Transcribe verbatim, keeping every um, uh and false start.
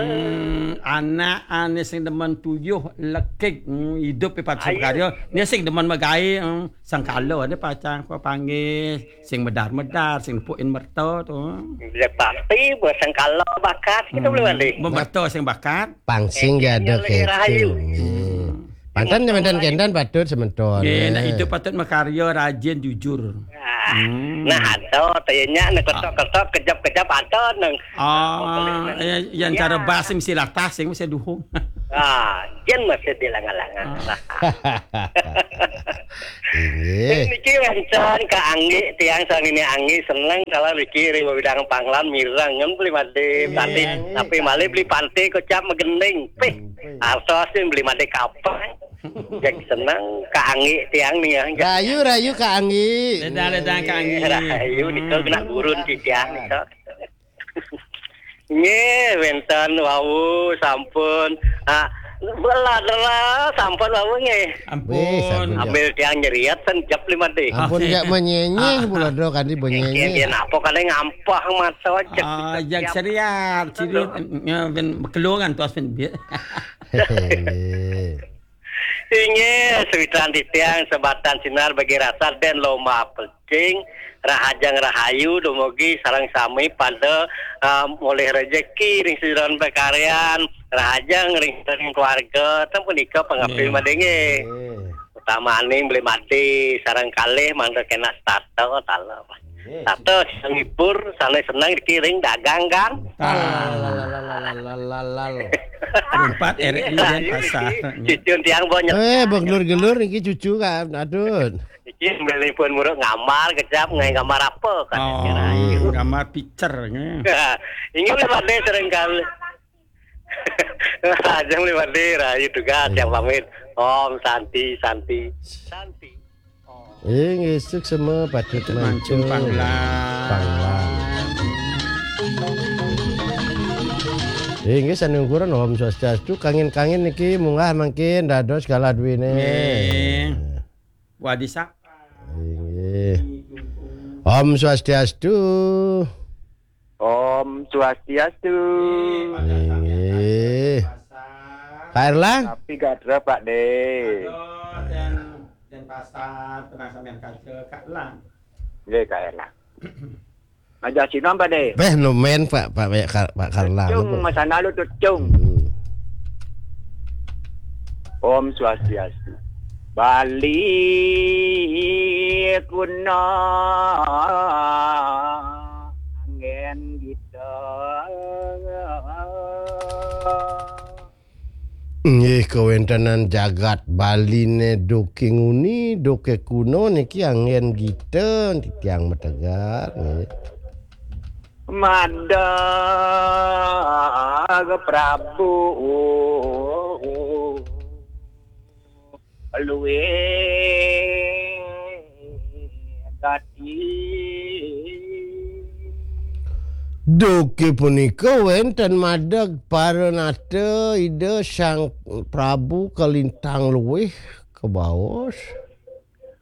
Hmm, anak ane sing demen tuyuh lekik, hmm, idup pati Ayu. Karya. Ni sing demen magae, hmm, sengkala ada pacang ko panggil, sing medar-medar, sing nepukin merta tu. Dia pasti bersengkala bakat kita boleh balik. Bemerta sing bakat. Pangsing Eh, dia ada dia lagi rahayu. Gitu. Hmm. Pantan nyementan kendan patut sementon. Nggih, nak Eh. Itu patut makarya rajin jujur. Ah, Hmm. Nah, ada tanya nak ketok-ketok kejap-kejap ada nang. Ah, ya, yang Ya. Cara bas mesti latah sing mesti duhung. Ah, yen masih dilangan-langan. Ah. Inggih. Niki wonten Kak Anggi, tiang sang ini Anggi seneng kalau niki ring bidang panglan mireng ngen beli mati Iya. Tapi Anggi, tapi Kak malih Anggi. Beli pantai kocap megending. Pih, Anggi. Artos sing beli mati kapang. Cek seneng Kak Anggi tiang nih ya. Rayu, rayu Kak Anggi. Ledang, ledang Kak Anggi. Rayu nika Hmm. Kena gurun di tiang nika. Nggih, wenten wau sampun. Ah, beladra sampun wau nggih. Ampun. Weh, sampun. Ambil tiang nyeriat sen jep lima D. Ampun, Oke. Jak menyenyeh Ah. Pula do kanti Nggih, benyenyeh. Nggih, napa kali ngampah mata jep. Ah, jak seriat, seriat, ya, ben kelongan tu asin dia. Hehehe. Inggih, sawitran titiang sebatan sinar bagi rasa dan lomba pecing, rahajeng rahayu dumugi sareng sami pada, ah, mulih rejeki ring sidaran pakaryan, rahajeng ring, ring keluarga, ten punika pangapil Nggih. Madenge. Nggih. Utamaning beli mati, sareng kalih mangda kena starter, taler. Nggih. Tato sing ngibur, sané seneng dikiring dagang kan. Ah. Lal, lal, lal, lal, lal, lal, lal. Empat R I dan pasar. Cucun tiang banyak. Eh, begelur-gelur niki cucu kan. Aduh. Iki melipun muruk ngamar kejap, ngai ngamar apa kan. Oh, ngamar picture, nggih. Ini lewat deh sering kali. Ajeng liwat deh, rahayu tugas yang pamit. Om Santi, Santi, Santi. Eh, nggih, suksma patut mancung mancung. Panglang. Panglang. Eh, nggih, sanungkuran Om Swastiastu, kangin-kangin niki munggah mangkin dados galah duwine. Nggih. Wadi sapa? Inggih. Om Swastiastu. Om Swastiastu. Inggih. Kak Erlang? Tapi gadra, Pak De. Aduh, dan, dan pasar, tenang sampean kaca, Kak Erlang. Nggih, Kak Erlang. Aja sinom, Pak De. Beh, no men, Pak, Pak, Pak Kar-, Pak Karlang, Cung, apa? Mas Analu tu, Cung. Hmm. Om Swastiastu. Bali kuna anggen kita. Nggih, kawentenan jagat Baline duke nguni, duke kuno niki anggen gita titiang mategar, nggih. Madag Prabu luwih gati. Duke punika wenten madeg paranata Ida Sang Prabu kalintang luwih kabaos.